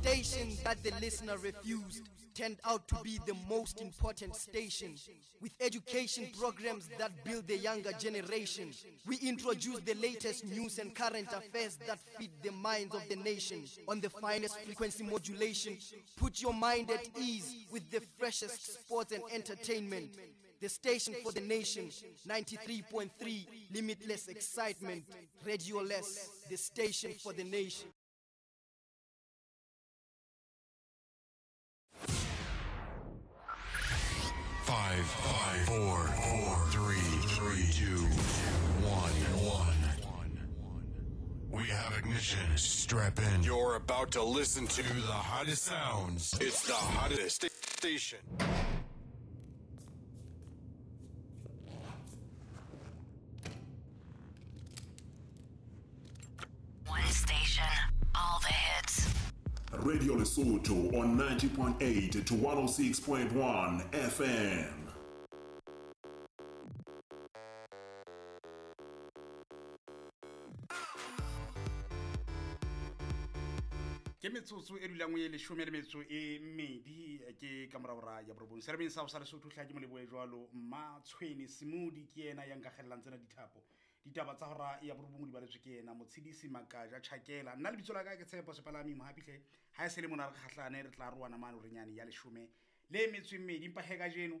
station that the listener refused turned out to be the most important station. With education programs that build the younger generation, we introduce the latest news and current affairs that feed the minds of the nation. On the finest frequency modulation, put your mind at ease with the freshest sports and entertainment. The station for the nation, 93.3, limitless excitement. Radio Less, the station for the nation. 5, 5, 4, 4, 3, 3, 2, 1, 1. We have ignition. Strap in. You're about to listen to the hottest sounds. It's the hottest station. One station, all the hits. Radio Lesotho on 90.8 to 106.1 FM. Ke metsotso e dulang e leshome le metso e mmedi ke ka moraora ya borobong seremeng sa go sa Lesotho. Tlha ke moleboe jwalo Mmatshweni Semodi ke yena ya nkagelelang tsena dithapo. Ditaba tsa hora ya borobong di baletswe ke yena Motshedisi Makaja Tšhakela. Nna lebitso la ka ke Tshepo Sepalami Mohapitlhe. Ha e se le mona re kgahlane, re tla roana mane orenyane ya leshome le metso e mmedi. Empa he kajeno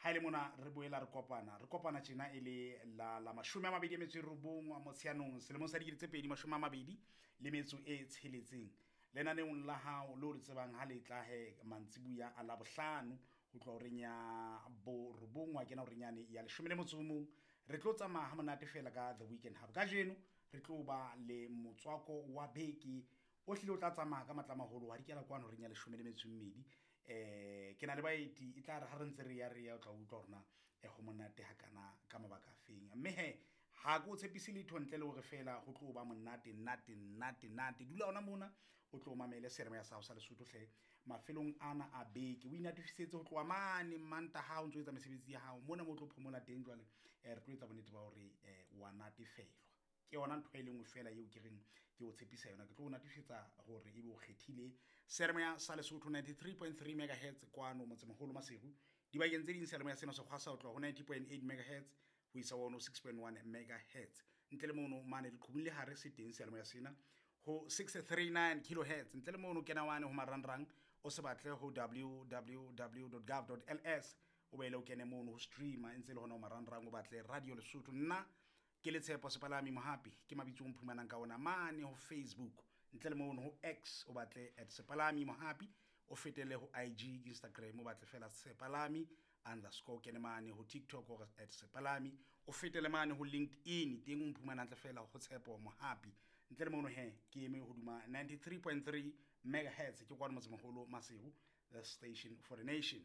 ha e le mona re boela re kopana, re kopana tjena e le la 29 Motsheanong selemong sa 2026. Lenaneong la hao le o le tsebang ha le tla he mantsibuya a Labohlano ho tloha horeng ya borobong wa kena horeng yane ya 11. Re tlo tsamaya ha monate fela ka The Weekend Hub. Kajeno re tlo ba le motswako wa beke o hlile o tla tsamaya ka matla a maholo wa dikela kwano horeng ya 12. Ke na le baeti e tla re ha re ntse re ya re ya o tla utlwa hore na ho monate hakana ka mabaka a feng. Mme he ha ke o tshepise letho ntle le hore fela ho tlo ba monate nate nate nate. Dula ona mona o tlo mamele seremo ya sa sa Lesotho hle mafelong ana a beke. O inatifisetse ho tloha mane Mantaha o ntso etsa mesebetsi ya hao mona mo tlo phomola teng jwale. Re tlo etsa bonnete ba hore wa natefelwa. Ke yona ntho e le nngwe fela eo ke reng ke o tshepisa yona. Ke tlo o natefisetsa hore ebe o kgethile seremo ya sa Lesotho 93.3 megahertz kwano motsemoholo Maseru. Dibakeng tse ding seremo ya sena sekgwa sa ho tloha ho 90.8 megahertz ho isa 106.1 megahertz. Ntle le mono mane leqhubung le hare se teng seyalemoya sena ho 639 kilohertz. Ntle le mono kena wane ho marangrang o se batle ho www.gov.ls o beele o kene mono ho streamer e ntse le hona ho marangrang o batle Radio Lesotho. Nna ke le Tshepo Sepalami Mohapi ke mabitso o mphumanang ka ona mane ho Facebook. Ntle le mono ho X o batle at Sepalami Mohapi, o fetele ho IG Instagram o batle fela Sepalami underscore kene mane ho TikTok or at Sepalami, o fetele mane ho LinkedIn teng o mphumana hantle fela ho Tshepo Mohapi. Ntle le mono he ke eme hoduma 93.3 megahertz ke kwano motsemoholo Maseru, the station for the nation.